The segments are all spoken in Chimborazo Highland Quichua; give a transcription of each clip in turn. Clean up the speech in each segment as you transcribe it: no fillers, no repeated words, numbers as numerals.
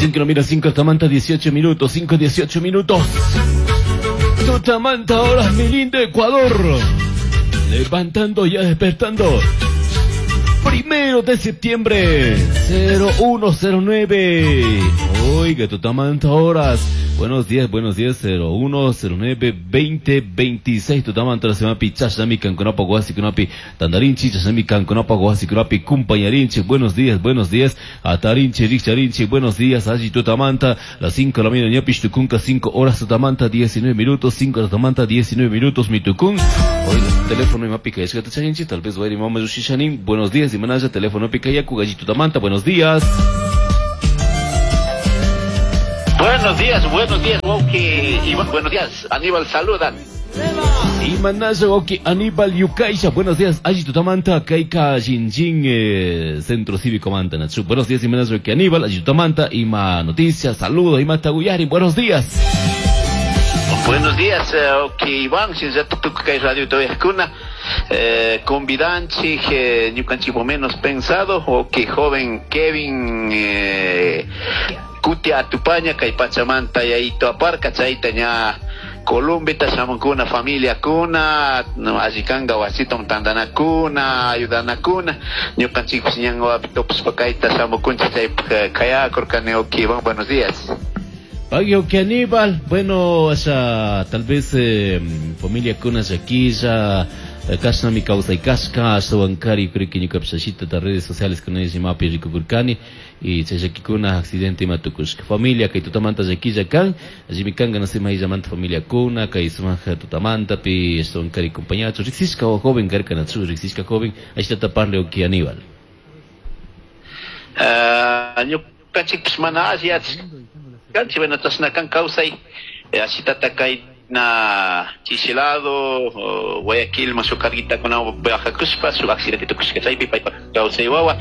5 mira 5 tamanta 18 minutos, 5 18 minutos. Tutamanta ahora mi lindo Ecuador. Levantando ya despertando. 1 de septiembre, 0109. Oiga, Tutamanta horas. Buenos días, 0109 2026. Tutamanta se llama Chashnami Canconapa Guasikunapi Tandarinchi, Chashnami Canconapa Guasikunapi Cumpañarinchi. Buenos días, buenos días. Atarinchi, Richarinchi, buenos días. Allí Tutamanta, las 5 de la mañana, Ñapish Tucunca, 5 horas Tutamanta, 19 minutos, 5 horas Tutamanta, 19 minutos, Mitucún. Oiga, teléfono y mapica, Charinchi, tal vez voy a ir mamá Yushishanin. Buenos días, y manaya, teléfono pica yaku, gallito Tamanta, buenos días. Buenos días, Wauki. Buenos días, Aníbal, saludan. Y manaya, Wauki, Aníbal Yukaisha, buenos días, Allí Tutamanta, Kaika Jinjin, Centro Cívico Manta, Nachu. Buenos días, y manaya, Wauki, Aníbal, Allí Tutamanta, Ima Noticias, saludo, Ima Taguyari, buenos días. Buenos días, Wauki Iván, si ya tuc kay radio todavía kuna. Convidanchi, ñukanchik menos pensado, o que joven Kevin, Kutia Atupaña, kay Pachamanta yayito aparca, chayta ña Columbita shamunkuna, familia kuna, no, allikanga wasitom tandanakuna, ayudanakuna, ñukanchikpis ñan wapitopis kayta shamukunchik chaypaq kayakurkani, Wauki Iván, buenos días. Pagio que Aníbal, bueno, esa, tal vez familia kuna llaquilla, kasna mi causa y casca, asawankari, creo que ñuka pishashita de redes sociales con ella mapi rico kurkani, y chayakikuna accidente matukushka. Familia kay tutamanta llaquilla kan, allí mi kanga no sé más llamanta familia kuna, kay sumaja tutamanta pi asawankari compañacho, riksishka o joven karka natsu, riksishka joven, ahí está taparle o que Aníbal. Ñukanchikpis mana alli kanchi, bueno, chashna kan kawsay, ashitata kay na chisilado, Guayaquil, shuk carguitakuna viajakushpa, shuk accidente tukushka chaypi paypak kawsay wawa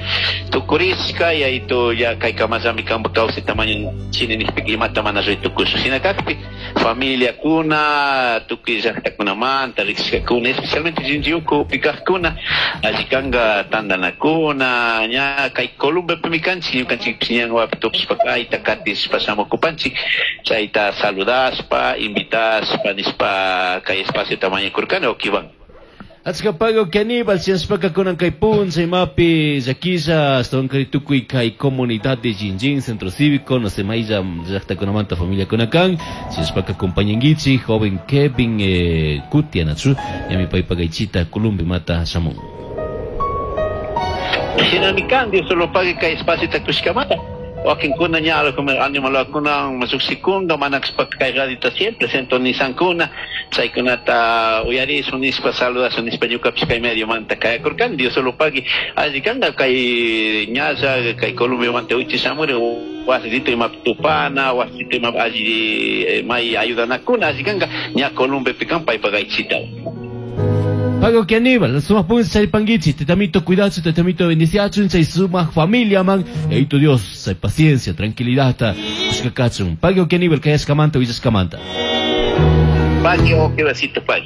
tukurishka, y ahí tu ya kay kamallami kanpa kawsay tamaño chini nishpika imata mana ruray tukushka. Shina kakpi familia kuna, tukuy llaktakunamanta riksishkakuna, especialmente Jinjiuku pikajkuna, alli kanka tandanakuna, ña kay Columbiapimi kanchik, ñukanchikpish ñan wapi tupishpa kayta katishpa shamukupanchik, chayta saludashpa, invitashpa, nishpa kay espacio tamaño kurkani, Wauki Iván. Achka pago que Aníbal, si aspaka kunan kay puncha imapi llaquilla, hasta un tukuy kay comunidad de Jinjin, Centro Cívico, no sé, mailla llaktakunamanta familia kunakan, si aspaka compañenguichi, joven Kevin Kutia nachu, ya mi pay pagaichita, Columbi mata shamun. Shinami kan, Dios solo pague kay espacio takushkamata. Wakinkuna ña algo como animalakuna masuksikunga manakspak kay radita siempre sintonizankuna chaykunata uyarisun nispa saludasun nispa ñukapish kay medio manta kayakurkani, Dios solo pagui alli kanga kay ñalla kay Colombia manta uchi shamuri wasitito ima tupana wasitito ima alli may ayudanakuna alli kanga ña Colombia pikan paypa gaychita. Pago que Aníbal, sumas punza charipanguichi, te tamito cuidado, te tamito bendiciacho, chay sumas familia man, y tu Dios, hay paciencia, tranquilidad, hasta cachun. Pago que Aníbal, que hayas camanta, villas camanta. Pago que vasito, pago.